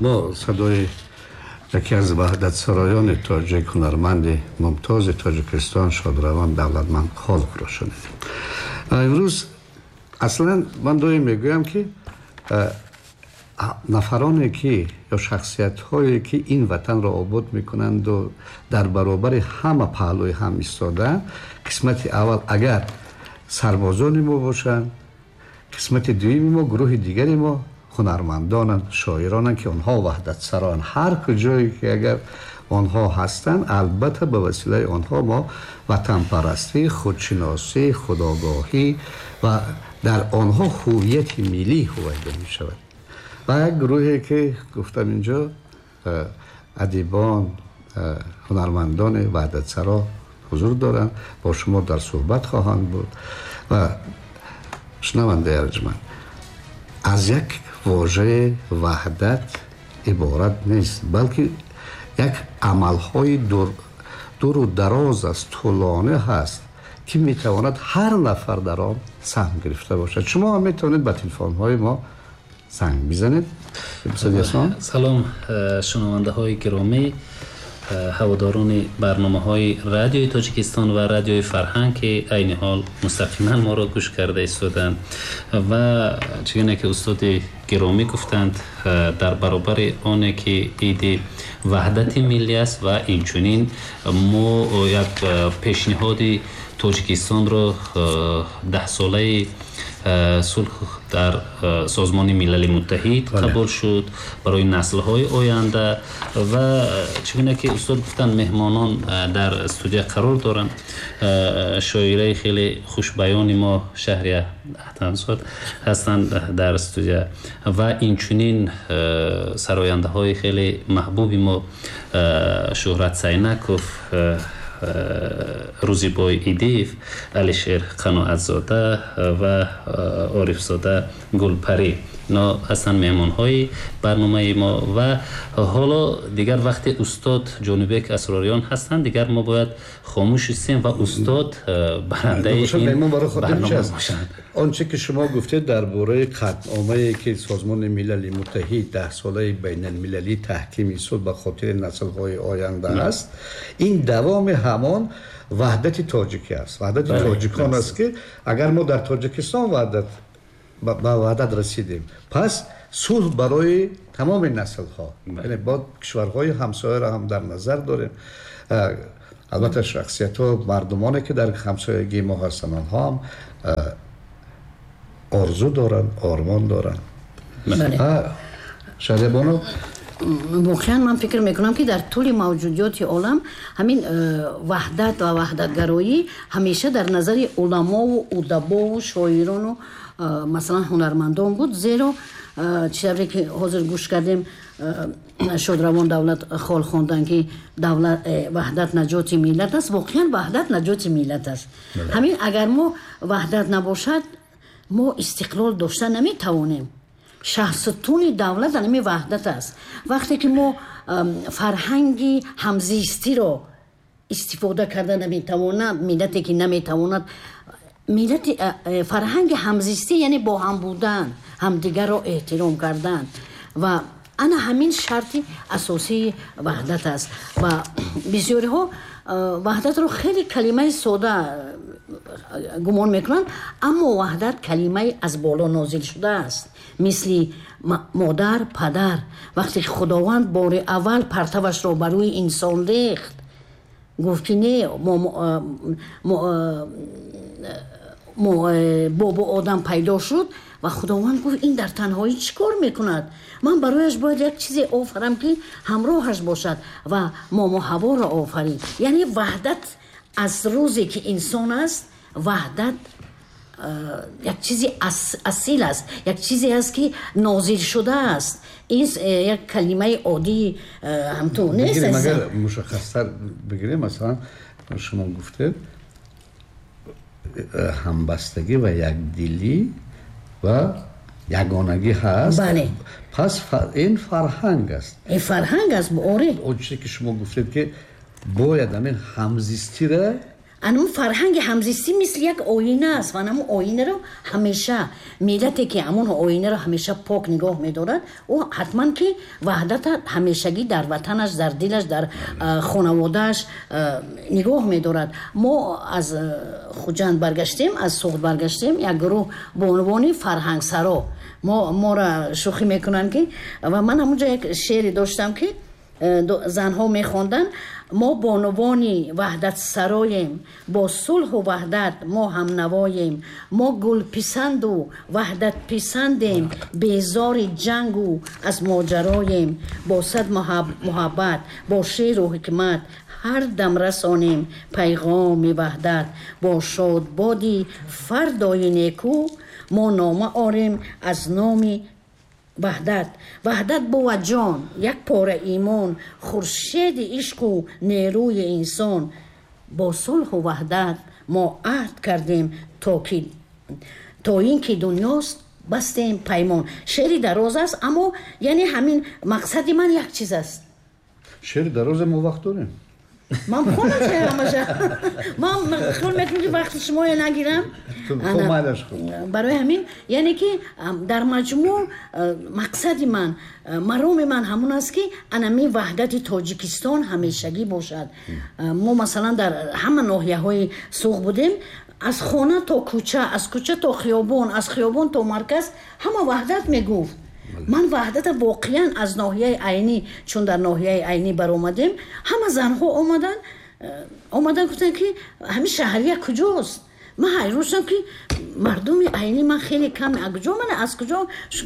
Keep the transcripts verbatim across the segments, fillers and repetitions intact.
Мо садои яке аз ваҳдатсароёни тоҷик, ҳунарманди мумтози Тоҷикистон, шодравон Давлатманд Холовро шунидем. Имрӯз аслан ман доим мегӯям, ки нафароне ки ё шахсиятҳое ки ин ватанро обод мекунанду дар баробари ҳама паҳлӯи ҳам истодаанд, қисмати аввал агар сарбозони мо бошанд, қисмати дуюми мо, гурӯҳи дигари мо ҳунармандонанд, шоиронанд, ки онҳо ваҳдатсароанд. Ҳар куҷое ки агар онҳо ҳастанд, албатта ба василаи онҳо мо ватанпарастӣ, худшиносӣ, худогоҳӣ ва дар онҳо ҳувияти миллӣ ҳувайдо мешавад. Ва як гурӯҳе ки гуфтам, инҷо адибон, ҳунармандони ваҳдатсаро ҳузур доранд, бо шумо дар суҳбат хоҳанд буд. Ва шунавандаи арҷманд, аз як вожаи ваҳдат иборат нест, балки як амалҳои дуру дароз аст, тӯлонӣ ҳаст, ки метавонад ҳар нафар дар он саҳм гирифта бошад. Шумо ҳам метавонед ба телефонҳои мо занг бизанед. Салом, шунавандаҳои гиромӣ, ҳаводорони барномаҳои радиои Тоҷикистон ва радиои Фарҳанг, ки айни ҳол мустақиман моро гӯш карда истоданд. Ва чигуна ки устоди гиромӣ гуфтанд, дар баробари оне ки иди ваҳдати миллӣ аст ва инчунин мо як пешниҳоди Тоҷикистонро даҳсолаи сулҳ дар Созмони Милали Муттаҳид қабул шуд барои наслҳои оянда. Ва чигуна ки устод гуфтанд, меҳмонон дар студия қарор доранд. Шоираи хеле хушбаёни мо Шаҳрия Аҳтамзод ҳастанд дар студия ва инчунин сарояндаҳои хеле маҳбуби мо Шуҳрат Сайнаков, Рӯзибой Идиев, Алишер Қаноатзода ва Орифзода Гулпарӣ. Ино ҳастанд меҳмонҳои барномаи мо. Ва ҳоло дигар вақте устод Ҷонибек Асрориён ҳастанд, дигар мо бояд хомӯш истем ва устод барандаи ин барнома бошанд. Он чӣ ки шумо гуфтед дар бораи қатъномае ки Созмони Милали Муттаҳид даҳсолаи байналмилалии таҳкими сулҳ ба хотири наслҳои оянда аст, ин давоми ҳамон ваҳдати тоҷикӣ аст. Ваҳдати тоҷикон аст, ки агар мо дар Тоҷикистон ваҳдат ба ваҳдат расидем, пас сулҳ барои тамоми наслҳо, яъне бо кишварҳои ҳамсояро ҳам дар назар дорем. Албатта шахсиятҳо, мардумоне ки дар ҳамсоягии мо ҳастанд, онҳо ҳам орзу доранд, ормон доранд. Шаҳрия бону? Воқеан ман фикр мекунам, ки дар тӯли мавҷудиёти олам ҳамин ваҳдат ва ваҳдатгароӣ ҳамеша дар назари уламову удабову шоирону, масалан, ҳунармандон буд. Зеро чӣ тавре ки ҳозир гӯш кардем, шодравон Давлат Хол хонданд, ки давлат ваҳдат наҷоти миллат аст. Воқеан ваҳдат наҷоти миллат аст. Ҳамин агар мо ваҳдат набошад, мо истиқлол дошта наметавонем. Шаҳсутуни давлат ҳамин ваҳдат аст. Вақте ки мо фарҳанги ҳамзистиро истифода карда наметавонад, миллате ки наметавонад миллати фарҳанги ҳамзистӣ, яъне бо ҳам будан, ҳамдигарро эҳтиром кардан, ва ана ҳамин шарти асосии ваҳдат аст. Ва бисёриҳо ваҳдатро хеле калимаи сода гумон мекунанд, аммо ваҳдат калимаи аз боло нозил шудааст, мисли модар, падар. Вақте ки Худованд бори аввал партавашро ба рӯи инсон рехт, гуфт, ки не, бобо Одам пайдо шуд ва Худованд гуфт: «Ин дар танҳоӣ чӣ кор мекунад? Ман барояш бояд як чизе офарам, ки ҳамроҳаш бошад», ва момо Ҳаворо офарид. Яъне ваҳдат аз рӯзе ки инсон аст, ваҳдат як чизи асил аст, як чизе аст, ки нозил шудааст. Ин як калимаи оддии ҳамту нест. Агар мушаххастар бигирем, масалан, шумо гуфтед ҳамбастагӣ ва якдилӣ ва ягонагӣ ҳаст. Бале. Пас ин фарҳанг аст. Ин фарҳанг аст, оре. Он чизе ки шумо гуфтед, ки бояд ҳамин ҳамзистира Анам фарҳанги ҳамзистӣ мисли як оина аст ва анам оинаро ҳамеша миллате ки ҳамон оинаро ҳамеша пок нигоҳ медорад, ӯ ҳатман ки ваҳдата ҳамешагӣ дар ватанаш, дар дилаш, дар хонаводааш нигоҳ медорад. Мо аз Хуҷанд баргаштем, аз Суғд баргаштем, як гурӯҳ бонувони фарҳангсаро мо моро шӯхӣ мекунанд ки ва ман ҳамонҷо як шеъре доштам ки занҳо мехонданд: мо бонувони ваҳдатсароем, бо сулҳу ваҳдат мо ҳамнавоем, мо гулписанду ваҳдатписандем, безори ҷангу аз моҷароем, бо сад муҳаббат, бо шеъру ҳикмат ҳар дам расонем пайғоми ваҳдат, бо шодбоди фардои неку мо нома орем аз номи ваҳдат. Ваҳдат бувад ҷон, як пора имон, хуршеди ишқу нерӯи инсон. Бо сулҳу ваҳдат мо аҳд кардем, то ки то ин ки дунёст бастем паймон. Шеъри дароз аст, аммо яъне ҳамин мақсади ман як чиз аст. Шеъри дарозе мо вақт дорем. Ман хонам шеър ҳамаша. Ман хиёл мекунам ки вақти шумоя нагирам. Барои ҳамин яъне ки дар маҷмӯъ мақсади ман, мароми ман ҳамон аст ки анами ваҳдати Тоҷикистон ҳамешагӣ бошад. Мо масалан дар ҳама ноҳияҳои Суғд будем, аз хона то кӯча, аз кӯча то хиёбон, аз хиёбон то марказ ҳама ваҳдат мегуфт. Ман ваҳдата воқеан аз ноҳияи Айнӣ, чун дар ноҳияи Айнӣ баромадем, ҳама занҳо омадан омадан гуфтанд ки ҳамин шаҳрия куҷост? Ман ҳайрон шудам ки мардуми Айнӣ ман хеле кам, куҷо ман аз куҷо?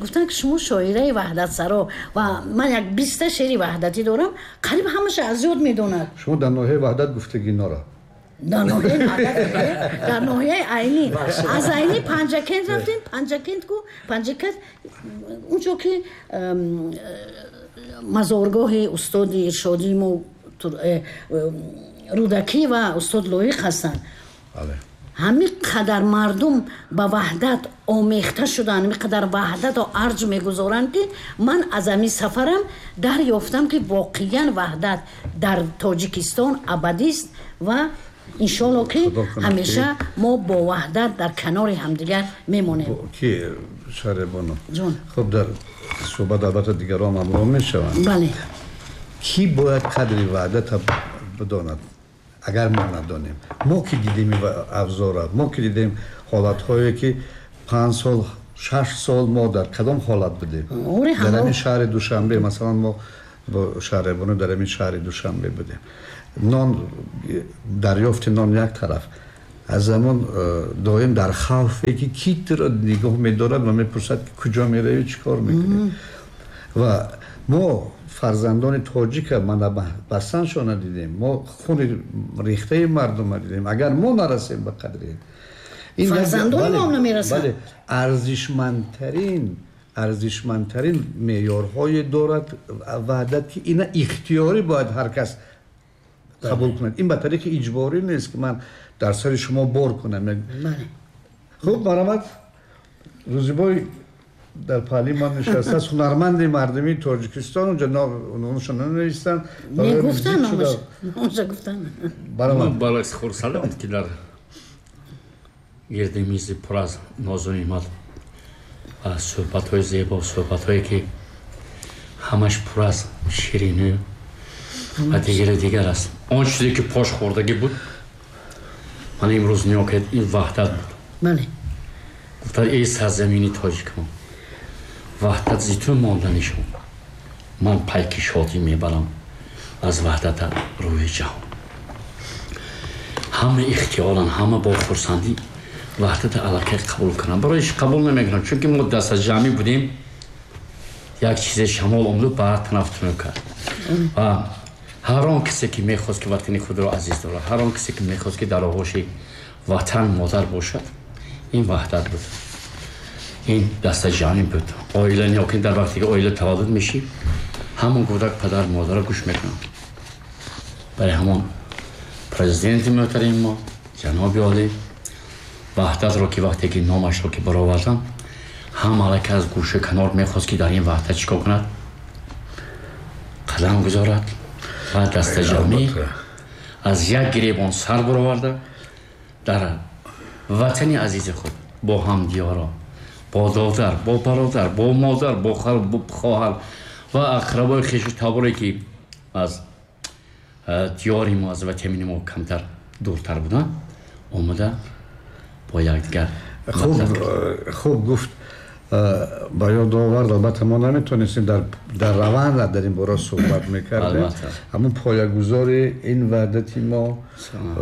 Гуфтанд ки шумо шоираи ваҳдатсаро ва ман як биста шеъри ваҳдатӣ дорам, қариб ҳамаша аз ёд медонад. Шумо дар ноҳияи Ваҳдат гуфтагиноро? Дар ноҳияи Ваҳдат, дар ноҳияи Айнӣ. Аз Айнӣ Панҷакент рафтем, Панҷакент ку Панҷакент унҷо ки мазоргоҳи устоди иршодии мо Рӯдакӣ ва устод Лоиқ ҳастанд. ҳамин қадар мардум ба ваҳдат омехта шуданд, ҳамин қадар ваҳдатро арҷ мегузоранд ки ман аз ҳамин сафарам дарёфтам ки воқеан ваҳдат дар Тоҷикистон абадист ва иншоалло ки ҳамеша мо бо ваҳдат дар канори ҳамдигар мемонем. Ки Шаҳрибону, хуб дар суҳбат албатта дигарон ҳамроҳ мешаванд. Бале. Кӣ бояд қадри ваҳдатро бидонад? Агар мо надонем, мо ки дидем авзора, мо ки дидем ҳолатҳое ки панҷ сол, шаш сол мо дар кадом ҳолат будем? Дар ҳамин шаҳри Душанбе, масалан мо бо Шаҳрибону дар ҳамин шаҳри Душанбе будем. Нон, дарёфти нон як тараф, аз замон доим дар хавфе ки ки туро нигоҳ медорад ва мепурсад ки куҷо меравӣ, чӣ кор мекунӣ. Ва мо фарзандони тоҷика мана басаншона дидем, мо хуни рехтаи мардума дидем. Агар мо нарасем ба қадри ин, фарзандони мо намерасанд. Бале, арзишмандтарин арзишмандтарин меъёрҳое дорад ваҳдат ки ина ихтиёрӣ бояд ҳар кас қабул кунад. Ин ба тариқи иҷборӣ нест ки ман дар сари шумо бор кунам. Хуб, марҳамат, Рӯзибой дар паҳлӯи ман нишастааст, ҳунарманди мардумии Тоҷикистон. Унҷо номашро нанавистанд. Мегуфтанд, номашро гуфтанд. Баромад. Баракс хурсандам ки дар гирди мизи пур аз нозу неъмат ва суҳбатҳои зебо, суҳбатҳое ки ҳамаш пур аз ширинӣ ва дигару дигар аст. Он чизе ки пош хӯрдагӣ буд, ман имрӯз нигоҳ кардам, ин ваҳдат буд. Бале. Гуфтанд эй сарзамини тоҷикон, ваҳдат зи ту монда нишон, ман пайки шодӣ мебарам аз ваҳдата рӯи ҷаҳон. Ҳама ихтиёран, ҳама бо хурсандӣ ваҳдата аллакай қабул кунанд. Барои қабул намекунанд, чунки мо дастаҷамъӣ будем, як чизе шамол омаду ба ҳар тараф тунук кард. Ва ҳар он касе ки мехост ки ватани худро азиз дорад, ҳар он касе ки мехост ки дар оғӯши ватан модар бошад, ин ваҳдат буд, ин дастаҷамъӣ буд. Оила нигоҳ дар вақте ки оила таваллуд мешӣ, ҳамон кӯдак падар модарро гӯш мекунанд. Барои ҳамон президенти муҳтарами мо ҷаноби олӣ ваҳдатро ки вақте ки номашро ки бароварданд, ҳам аллакай аз гӯша канор мехост ки дар ин ваҳдат чӣ кор кунад, қадам гузорад ва дастаҷамъӣ аз як гиребон сар бароварда Дар ватани азизи худ бо ҳамдиёро, бо додар, бо бародар, бо модар, бо хоҳар ва ақрабои хешу таборе, ки аз диёри мо, аз ватани мо камтар дуртар буданд, омада бо якдигар. Хуб гуфт, ба ёд овард. Албатта, мо наметонистем дар раванд дар ин бора суҳбат мекардем. Ҳамун поягузори ин ваҳдати мо,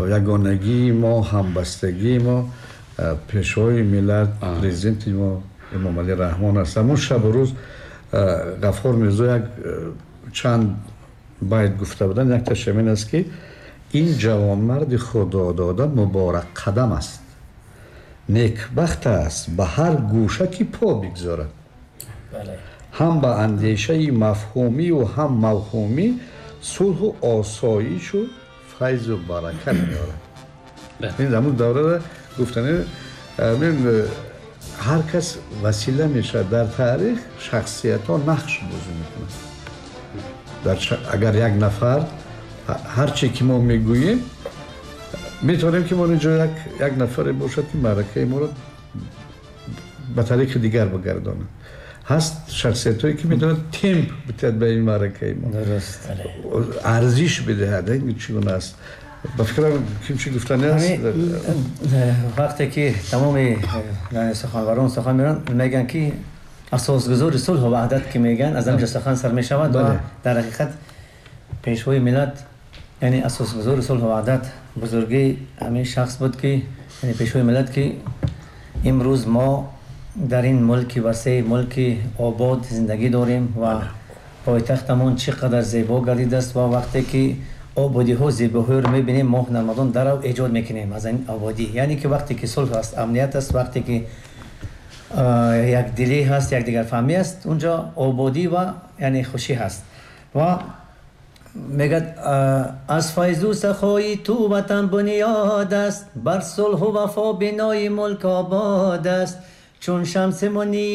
ягонагии мо, ҳамбастагии мо, пешвои миллат, президенти мо Эмомалӣ Раҳмон аст. Ҳамун шабу рӯз Ғаффор Мирзо як чанд байт гуфта буданд, якташ ҳамин аст, ки ин ҷавонмарди худодода муборакқадам аст, некбахт аст ба ҳар гӯша ки по бигзорад, ҳам ба андешаи мафҳумию ҳам мавҳумӣ сулҳу осоишу файзу баракат меорад. Ин ҳамун даврара гуфтани ҳар кас васила мешавад. Дар таърих шахсиятҳо нақш бозӣ мекунанд. Агар як нафар, ҳар че ки мо мегӯем, метавонем ки мо инҷо як нафаре бошад, ки маъракаи моро ба тариқи дигар бигардонад. Ҳаст шахсиятҳое, ки метавонад темп бидиҳад ба ин маъракаи мо, арзиш бидиҳад. Чӣ гуна аст? Ба фикрам, ким чӣ гуфтани аст? Вақте ки тамоми суханварон сухан меранд, мегӯянд, ки асосгузори сулҳу ваҳдат ки мегӯянд, аз ҳамҷо сухан сар мешавад. Ва дар ҳақиқат пешвои миллат, яъне асосгузори сулҳу ваҳдат, бузургии ҳамин шахс буд, ки яъне пешвои миллат, ки имрӯз мо дар ин мулки васеъ, мулки обод зиндагӣ дорем ва пойтахтамон чӣ қадар зебо гардидааст. Ва вақте ки ободиҳо, зебоҳоро мебинем, мо ҳунармандон дарав эҷод мекунем аз ин ободӣ. Яъне ки вақте ки сулҳ аст, амният аст, вақте ки якдилӣ ҳаст, якдигарфаҳмӣ аст, унҷо ободӣ ва яъне хушӣ ҳаст. Ва мегӯяд: аз файзу сахои ту ватан бунёд аст, бар сулҳу вафо бинои мулк обод аст, чун шамси мунир.